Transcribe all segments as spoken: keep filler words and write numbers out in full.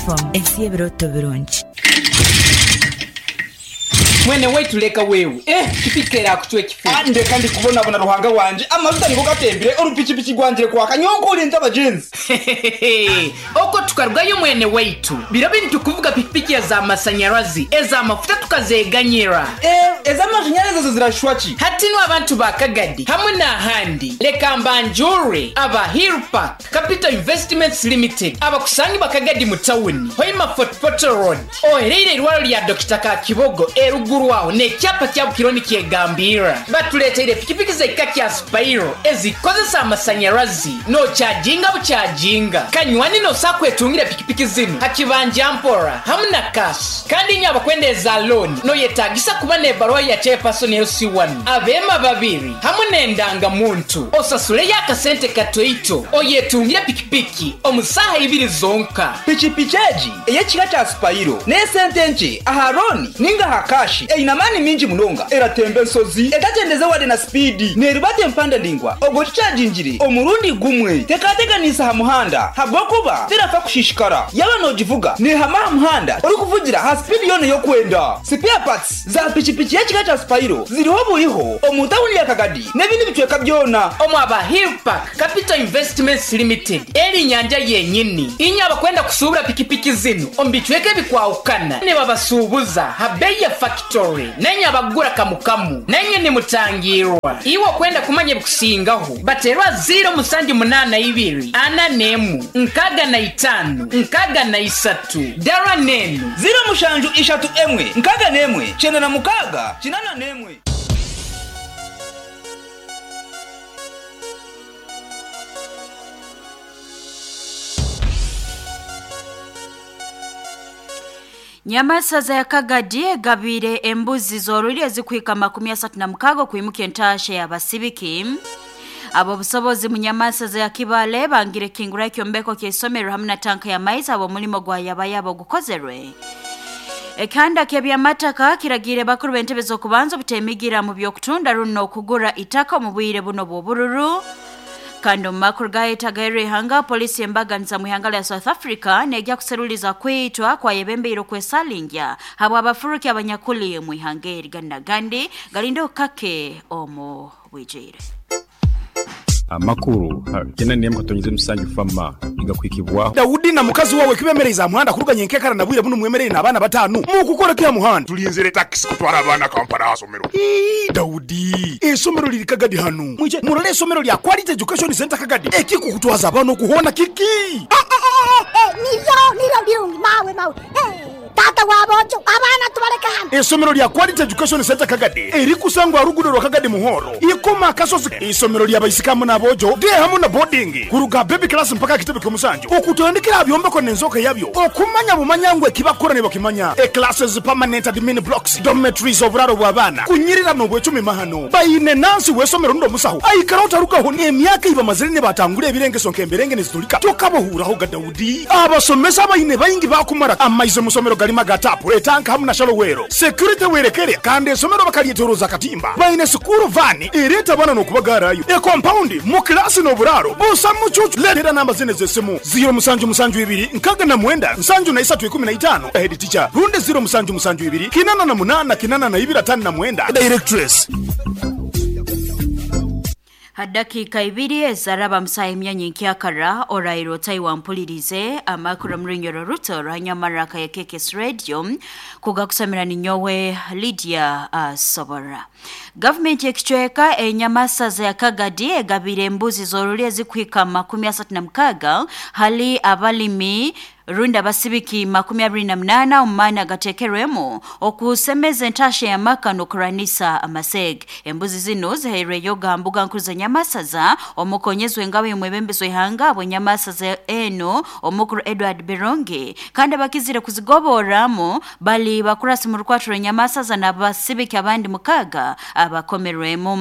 F M ensi y'ebiroto birungi. Mwene waitu leka wewe eh kipikera akuchwe kifu. Ndeka ndi kubonabona Ruhanga wanje, amavuta niko gatembire urupikipiki rwangire kwaka nyonkurinze abagenzi. Oko tukarugayo mwene waitu biro bintu kuvuga pikipiki ya za masanyarazi eza mafuta tukazeganyira. Eh, ez'amashanyarazi zo zirashwa ki? Hatino abantu ba Kagadi hamwe n'ahandi, leka mbanjure aba Hillpark Capital Investments Limited abakusangi bakagadi mu tawuni Hoima Fort Portal Road, ohereire irwaro lya Dokita Kakibogo eruguru aho n'ekyapa kya Bukironi kyegambira. Batuleteire pikipiki z'ekika kya Spiro ezikozesa amasanyarazi nokyajinga bukyajinga kanywani nosakwetungira pikipiki zino hakibanja mpora hamwe na cash. Kandi nyo abakwendeza loan noyetagisa kuba n'ebaruwa ya chairperson L C one abema babiri hamwe n'endangamuntu, osasule y'akasente katoito oyetungire pikipiki omusaha ibiri zonka. Pikipiki egi ey'ekika kya Spiro n'esente nke aha loan ninga aha cash, eine amaani mingi munonga, eratemba ensozi etakyendeze wade na speed, nerubata empanda ndingwa ogwo kikyagingire omurundi gumwe, tekateganisa aha muhanda habwokuba terafa kushishikara. Yaba nogivuga nehama aha muhanda orikuvugira ha speed yona y'okwenda. Spare parts za pikipiki y'ekika kya Spiro ziriho buriho omu tawuni ya Kagadi n'ebindi bicweka byona. Omu aba Hillpark Capital Investments Limited eri nyanja yenyini inye abakwenda kusuubura pikipiki zino omu bicweka ebikwahukana nibabasuubuza ha bei ya factory, nenye abagura kamukamu nenye nimutangirwa. Iwe okwenda kumanya ebikusingaho baterwa ziro musanju munana ibiri ana nemu nkaga na itano nkaga na isatu dara nenu ziro mushanju ishatu emwe nkaga nemwe kyenda na mukaga kinana nemwe. Nyamasaza ya Kagadi egabire embuzi zoruri ezikwika makumi asatu na mukago kuimuka entashe y'abasibiki. Abo busobozi mu Nyamasaza ya Kibale bangire kingura ekyombeko ky'isomero hamwe na tanka ya maizi abo mulimo gwa yabayabo gukozerwe. Ekanda ky'ebyamataka kiragire bakuru b'entebe z'okubanza obutemigira mu by'okutunda runo okugura itaka mu bwire buno bw'obururu. Kandi mu makuru gayetagaire ihanga, polisi embaganiza mu ihanga lya South Africa nejja kuseruliza kwitwa kwa yebembeire okwesalingya habwa abafuruki abanyakuli mu ihanga eri gandi galindo kake omu bwijire. Amakuru kena niyemwe katonyize musanju fama igakwikibwaho. Daudi na mukazi wawe kibemereza muhanda kuruganye nkekara nabwire buno mwemerere n'abana batanu mukukora kya muhanda tulinzire taxi kutwara abana Kampala asomero. Ii Daudi, esomero liri Kagadi hano mwije murole esomero lya Quality Education Center Kagadi ekikukutwaza abana kuhona kiki. Nivyo nivyo birungi mawe mawe. Tata wabojo abana tubareka hano. Esomero lya Quality Education Center Kagadi eri kusangwa rugudo rwa Kagadi muhoro ikoma kasozi. Isomero lya bayisikamu nabojo de hamwe na boarding kuruga baby class mpaka kitebe kyomusanju okutandikira byombeko nenzoka yabyo okumanya bumanyangwe kibakora ne bakimanya e classes permanent admin blocks dormitories oburaro bw'abana kunyirira no bwecumi mahano bayine nansi wesomero ndo musaho aikara utarukaho ne emyaka iba mazire batangure ebirengeso nkemberenge nezitulika tokabohuraho ga Daudi. Abasomesa bayine bayingi bakumara amaize musomero galima gatapu etanka hamwe na shalowero security werekere kandi esomero bakalyeteroza katimba bayine sukuru vani ereta bana nokubagarayo e compound mu class no buraro busa mucucu letera namba zine zesimu zero musanju musanju ibiri nkaga na mwenda nsanju na isatu ikumi na itano head teacher runde zero musanju musanju ibiri kinana na munana kinana na ibiri atano na mwenda directress. Hadakika ibiri ezaraba msaha emyanya nkyakara orairo tai mpulirize amakuru murinyoro ruto rwanyamaraka ya K K S Radio kugakusamira ninyowe Lydia uh, Sobora. Government ekicweka enyamasaza ya Kagadi egabire embuzi zoruri ezikwika makumi asatu na mukaga hali abalimi runda basibiki makumi abiri na munana umana gatekerwemo okusemeza entashe ya maka nokuranisa amaseg. Embuzi zino zihairwe yoga mbuga nkuru za Nyamasaza omukonyezwe engabe y'omwebembezi w'ihanga bwe Nyamasaza eno omukuru Edward Bironge, kandi abakizire kuzigoboramo bali bakurasi mu rukwatiro Nyamasaza n'abasibiki abandi mukaga abakomerwemo.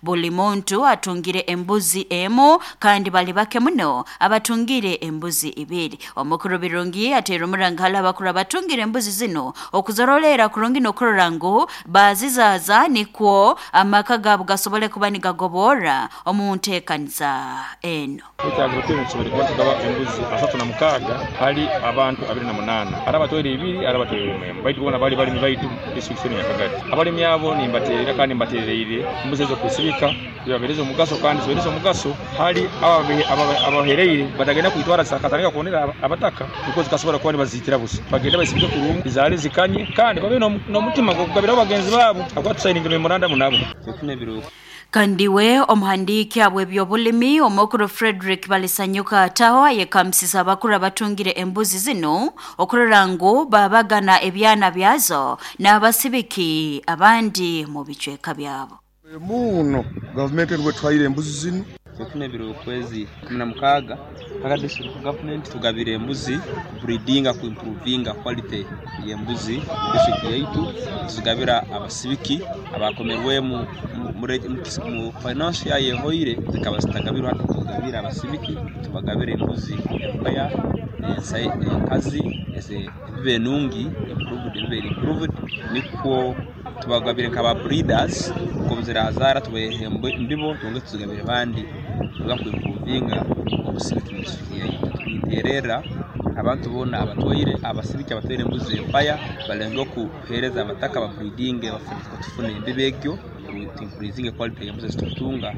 Buli muntu atungire embuzi emo kandi bali bake muno abatungire embuzi ibiri. Omukuru Birungi ateera omuranga hali abakuru abatungire embuzi zino okuzorolera kurungi n'okurora ngu bazizaza nikwo amaka gaabo gasobole kuba nigagobora omu nteekaniza eno. Ekyago kuba tugaba embuzi asatu na mukaaga hali abantu abiri na munaana ari abatwere ibiri ari abatwere emwe baitu bona bali balimi baitu district ya Kagadi. Abalimi abo nimbaterera kandi mbatereire embuzi ezo kusibika zibabereza omugaso kandi zibereza omugaso hali abahereire batagenda kuitwara sakatanga kuonera abataka kuko zikasobora kuba nibazitira busa bagenda basibike kurungi zale zikanye kandi babe n'omutima gw'okugabira abagenzi babo akwa tusayininga memorandum nabo. Kandiwe omuhandiki abw'ebyobulimi omukuru Frederick Balisanyuka ataho yekamsisa abakuru abatungire embuzi zino okurora ngu babagana ebyana byazo n'abasibiki abandi mu bicweka byabo. Muno gavumenti rwetwaire embuzi zino tufune biro okwezi kumi na mukaaga paka district government tugabire embuzi breedinga ku improvinga quality y'embuzi district yaitu tuzigabira abasibiki abakomerwemu mu finance ya yehoire zikaba zitagabirwa tugabira abasibiki tubagabire embuzi empaya enkazi eze ebibe nungi improved ebibe improved nikwo tubagabire nkaba breeders kuzirazara tubehe mbibo tunge tuzigabire bandi tugakwimprovinga obusibiki mu district yaitu. Tuterera abantu bona abatwaire abasibiki abatwaire embuzi empaya balenga okuhereza abataka ba breeding bafune embibegyo increasing quality y'embuzi tutunga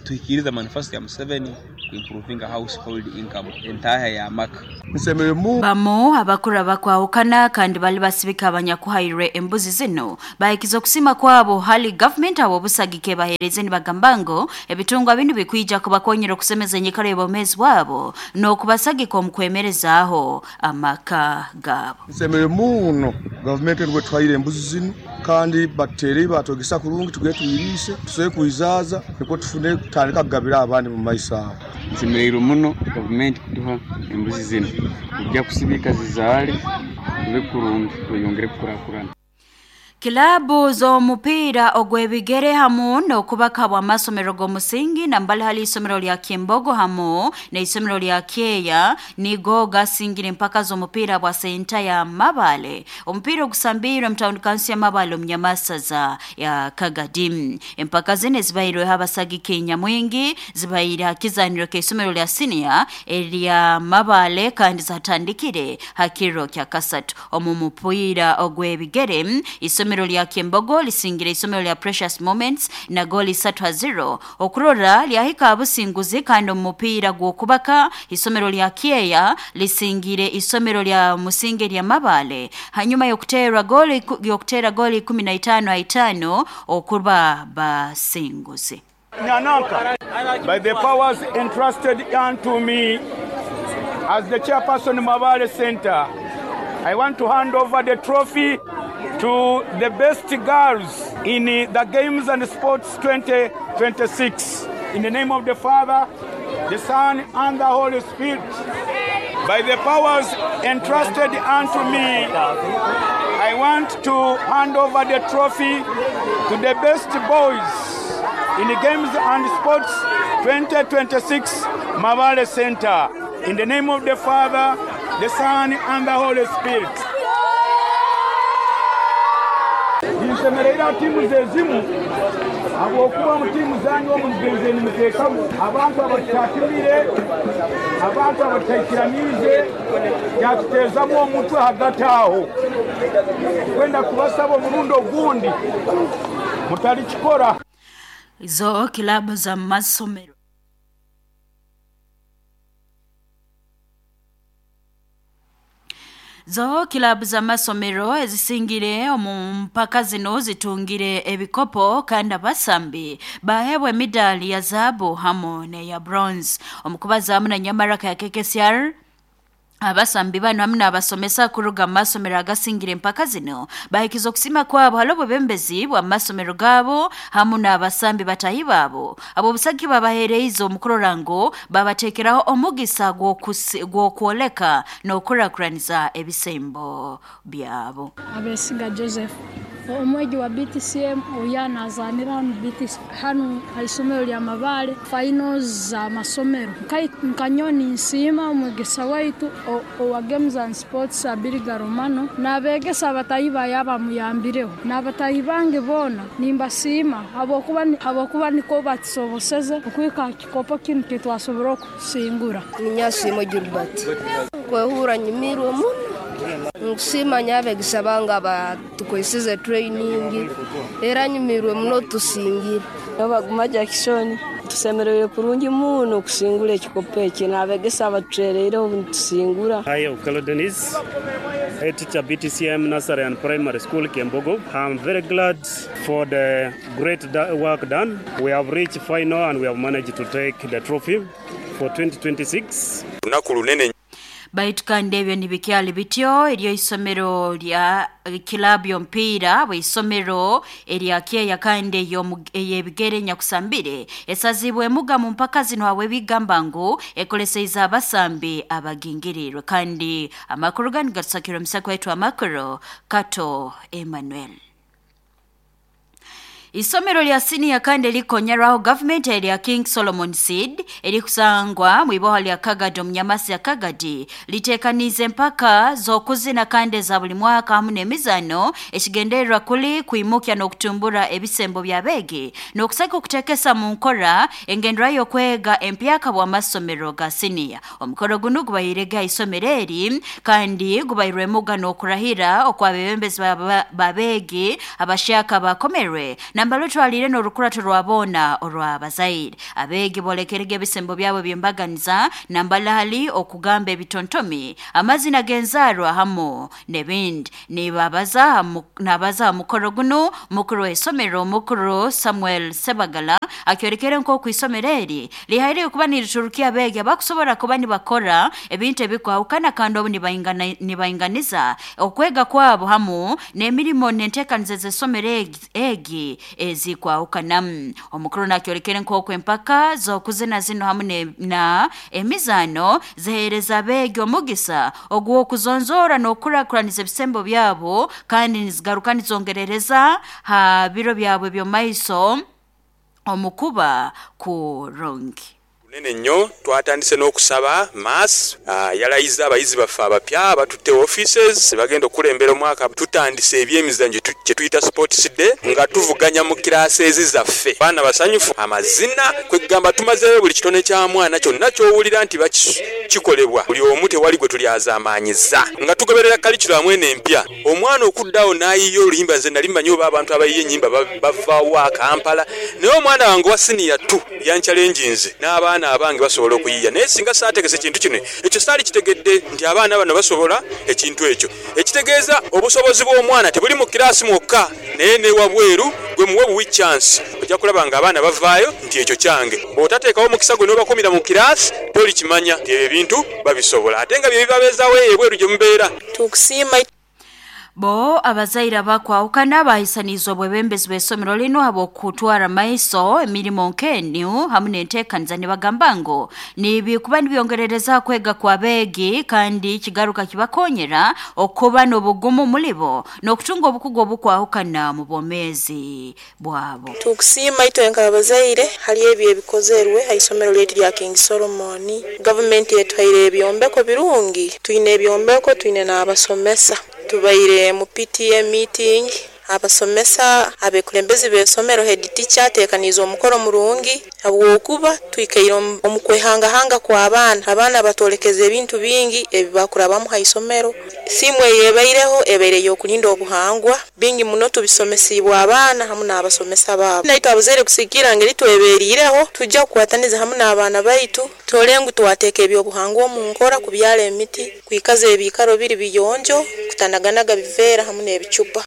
tuhikiriza manifesto ya Museveni improving household income entaha ya maka. Bamo abakuru abakwawukana kandi bali basibika abanyakuhairwe embuzi zino bahikiza okusima kwabo hali government abo busagike bahereze nibagambango ebitungwa binu bikwija kubakonyera okusemeza enyikara y'obwomeezi bwabo n'okubasagika omu kwemerezaaho amaka gabo. Nsemere muno gavumenti rwetwaire embuzi zino kandi batere batogesa kurungi tuge tuyirise tusobe kuizaza niko tufune kutandika kugabira abandi mu maiso aho. Nsemereire muno gavumenti kuduha embuzi zino kujja kusibika zizaale tube kurungi tweyongere kukurakurana. Kilabu z'omupiira ogw'ebigere hamu n'okubaka bw'amasomero g'omusingi nambali hali isomero lya Kimbogo hamu n'isomero lya Kyeya nigo gasingire empaka z'omupiira bwa senta ya Mabale. Omupiira ogusambirwe mu town council ya Mabale omu Nyamasaza ya Kagadi. Empaka zino zibairweho abasagiki nyamwingi zibaire ha kizaniro k'isomero lya senior erya Mabale kandi zatandikire hakiro kya kasatu. Omu mupiira ogw'ebigere isomero lya Kimbogo lisingire isomero lya Precious Moments na goli satu zero okurora lyahika abusinguzi kandi omupiira gw'okubaka isomero lya Kyeya lisingire isomero lya Musinge lya Mabale hanyuma y'okutera goli y'okutera goli kumi na itaano itaano okuba basinguzi. Nyananka, by the powers entrusted unto me as the chairperson Mabale Center, I want to hand over the trophy to the best girls in the Games and Sports twenty twenty-six. In the name of the Father, the Son, and the Holy Spirit. By the powers entrusted unto me, I want to hand over the trophy to the best boys in the Games and Sports twenty twenty-six Mabale Center. In the name of the Father, the Son, and the Holy Spirit. Nsemerera timu zezimu abokuba mu timu zanyu omugenze nimuteekamu abantu abatatumire abantu abataikiranize yatuteezamu omutwe hagati aho kwenda kubasaba omurundi ogundi mutalikikora. Izo kilabu za masomero Zo kilabu za masomero ezisingire omu mpaka zino zitungire ebikopo kandi abasambi bahebwe medali ya zahabu hamu ne ya bronze. Omukubaza hamu na Nyamaraka ya K K C R abasambi bano hamwe n'abasomesa kuruga mu masomero agasingire empaka zino bahikiza okusima kwabo hali obwebembezi bwa masomero gabo hamu n'abasambi batahi babo abo obusagi babahereize omukurora ngu babateekeraho omugisa gw'okwoleka n'okurakuraniza ebisembo byabo. Abesiga Joseph Omwegi wa B T C M oya nazanira hanu B T C hanu haisomero lya Mabale finals za masomero. Nkanyoni nsiima omwegesa waitu owa Games and Sports Abiriga Romano n'abegesa abatayi bayaba muyambireho n'abatayi bange bona nimbasiima habwokuba habwokuba niko batusoboseze okwika kikopo kinu kitwasobora okusingura. Ninyasiima Gilbert kwehura nyumirwe muno. Nkusima nyabegesa banga batukwesize training era nyumirwe muno tusingire. Baguma Jackson tusemereire kurungi muno kusingura ekikopo eki n'abegesa abatutereire obu tusingura. Hi, Okelo Dennis, head teacher B T C M Nursery and Primary School Kembogo. I'm very glad for the great work done. We have reached final and we have managed to take the trophy for twenty twenty-six. Lunaku lunene. Baitu kandi ebyo nibikyali bityo eryo isomero lya kilabu y'omupiira bw'isomero erya Kyeya kandi ey'ebigere nyakusambire esazibwe emuga mu mpaka zino hawe bigamba ngu ekoleseiza abasambi abagingirirwe. Kandi amakuru gani gatusakirwe omusako waitu amakuru Kato Emmanuel. Isomero lya senior kandi likonyeraho government erya King Solomon Seed erikusangwa mwiboha lya Kagadi omunyamasi ya Kagadi litekanize mpaka z'okuzina kandi za buli mwaka hamu n'emizano ekigendererwa kuli kuimukya n'okutumbura ebisembo by'abeegi n'okusaka okutekesa mu nkora engendera y'okwega empyaka bw'amasomero ga senior. Omukoro guno gubairega isomero eri kandi gubairwemuga n'okurahira okw'abebembezi babeegi abashaka bakomerwe nambalo twalire n'orukurato rwabona orw'abazaire. Abeegi bolekerege ebisembo byabo byembaganiza nambala hali okugamba ebitontomi amazina genzarwa hamu n'ebindi. Nibabaza nabaza mukoro guno mukuru w'isomero mukuru Samuel Sebagala akyorekere nk'oku isomero eri lihaire okuba niriturukia abeegi abakusobora kuba nibakora ebintu ebikwahukana kandi obu nibainganiza okwega kwabo hamu n'emirimo n'enteekaniza z'isomero egi ezikwahukana. Omukuru nakyorekere nk'oku empaka z'okuzina zino hamu na emizano ziheereza abeegi omugisa ogw'okuzonzora n'okukurakuraniza ebisembo byabo kandi nizigaruka nizongerereza ha biro byabwe by'omaiso omukuba kurungi. Nene nnyo twatandise n'okusaba mass uh, yalayiza abayizi baffe abapya batutte offices bagenda okulembera omwaka. Tutandise ebyemizannyo kye tuyita sports day nga tuvuganya mu classes zaffe. Abaana basanyufu amazina kwegamba tumazeeyo buli kitone kya mwana kyonna ky'owulira nti bakikolebwa buli omu tewali gwe tulyazaamaanyiza nga tugoberera curriculum eno empya. Omwana okuddawo n'ayiiya oluyimba nze nali mmanyi oba abantu abayiiya ennyimba bavaawo Kampala, naye omwana wange wa senior two yanchallenginze n'abaana abange basobola okuyiiya, naye singa saategese kintu kino ekyo saali kitegedde nti abaana bano basobola ekintu ekyo. Ekitegeeza obusobozi bw'omwana tebuli mu kiraasi mwokka naye ne wabweru gwe muwe buwi chance ojja kulaba nga abaana bavaayo nti ekyo kyange. Bw'otateekawo omukisa gwe n'obakumira mu kiraasi tolikimanya nti ebyo ebintu babisobola ate nga bye bibabeezaawo eyo ebweru gye mubeera. Tukusiima. Bo abazaire abakwahukana bahisanizwa obwebembezi bw'isomero lino habw'okutwara maiso emirimo nk'enu hamu n'enteekaniza nibagamba ngu nibikuba nibyongerereza kwega kw'abeegi kandi kigaruka kibakonyera okuba n'obugumu mulibo n'okutunga obukugu obukwahukana mu bwomeezi bwabo. Tukusiima itwe nk'abazaire hali ebyo ebikozerwe ha isomero lyaitu lya King Solomon. Gavumenti etuhaire ebyombeko birungi, twine ebyombeko twine n'abasomesa. Tubaire mu P T A meeting abasomesa abekulembezi b'esomero head teacher ateekaniza omukoro murungi habwokuba twikaire omu kwehangahanga kw'abaana. Abaana batolekeza ebintu bingi ebibakurabamu ha isomero. Simu eyebaireho ebaire y'okulinda obuhangwa bingi muno tubisomesibwa abaana hamu n'abasomesa baabo. Naitwe abazaire kusigira ngeri tweberiireho tujja kukwataniza hamu n'abaana baitu tole ngu twateeka ebyobuhangwa omu nkora kubyala emiti kwikaza ebiikaro biri biyonjo kutanaganaga biveera hamu n'ebicupa.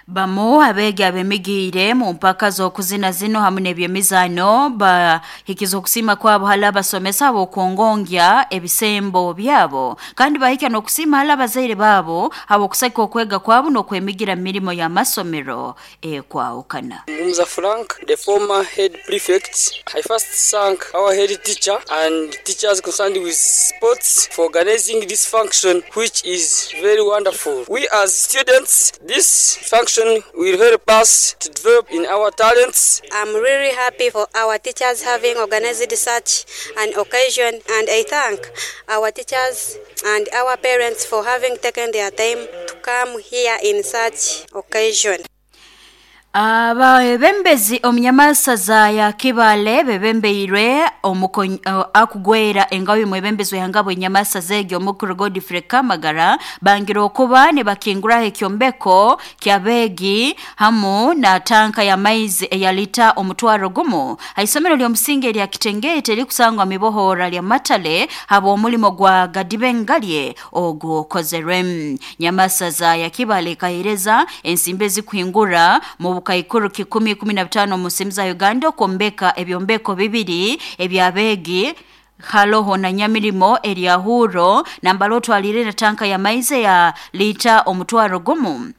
Bamu abeegi abemigiire mu mpaka z'okuzina zino hamu n'ebyemizano bahikiza okusiima kwabo hali abasomesa habw'okwongongya ebisembo byabo kandi bahika n'okusiima hali abazaire baabo habw'okusaka okwega kwabo n'okwemigira mu mirimo y'amasomero ekwahukana. Mumza Frank, the former head prefect, I first thank our head teacher and teachers concerned with sports for organizing this function, which is very wonderful. We as students, this function function will help us to develop in our talents. I'm really happy for our teachers having organized such an occasion, and I thank our teachers and our parents for having taken their time to come here in such occasion. Abebembezi omunyamasaza ya Kibale bebembeirwe omuko- uh, akugwera engabi mwebembezi wehangabo enyamasaza egyo omukuru Godfrey Kamagara bangira okuba ne bakinguraho ekyombeko kyabegi hamu na tanka ya maizi eyalita omutwaro gumu haisomero ly'omusingi erya Kitengete likusangwa mibohora lya Matale habo omulimo gwa Gadibengalye ogukozerwe. Nyamasaza ya Kibale kahereza ensimbi ezikuhingura mu bukaikuru kikumi kumi na bitano mu nsimu za Uganda okwombeka ebyombeko bibiri ebyabegi haloho na nyamirimo eryahuro nambalo twalire na tanka ya maize ya lita omutwaro gumu.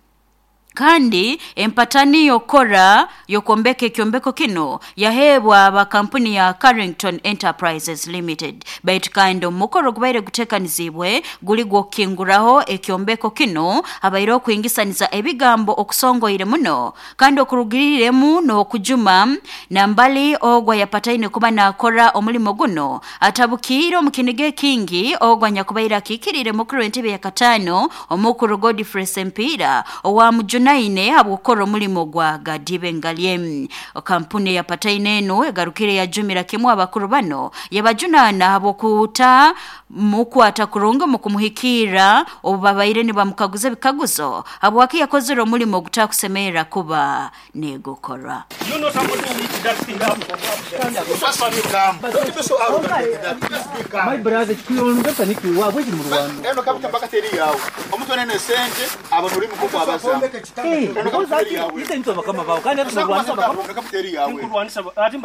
Kandi empatani yokora yokombeka ekyombeko kino yahebwa aba kampuni ya Carrington Enterprises Limited. Baitu kandi omukoro gubaire gutekanizibwe guli gwokinguraho ekyombeko kino abaire okuingisaniza ebigambo okusongoire muno kandi okurugiriremu n'okujuma nambali ogwa yapataine kuba nakora omulimo guno atabukiire omukinige kingi ogwa nyakubaire akikirire mukuru w'entebe ya katano omukuru Godfrey Sempira owa mujuna naine habwokora omulimo gwa Gadibengalye. Kampuni ya pataine eno egarukire yajumira kimwe abakuru bano yabajunana habwokuta mukwata kurunga mu kumuhikira obubabaire nibamukaguza ebikaguzo habwaki yakozere omulimo gutakusemera kuba negukora. You know somebody who eats that thing up. Just be calm. Don't be so arrogant like that. Just be calm. My brother, kuyonga niki wabwe mu Rwanda. Eno kapita mpaka teri yawe. Omuntu anene sente abantu uri mukoko abaza. Eh, Eno kapita teri yawe. ite nto bakama bawo kandi Eno kapita teri yawe. Ati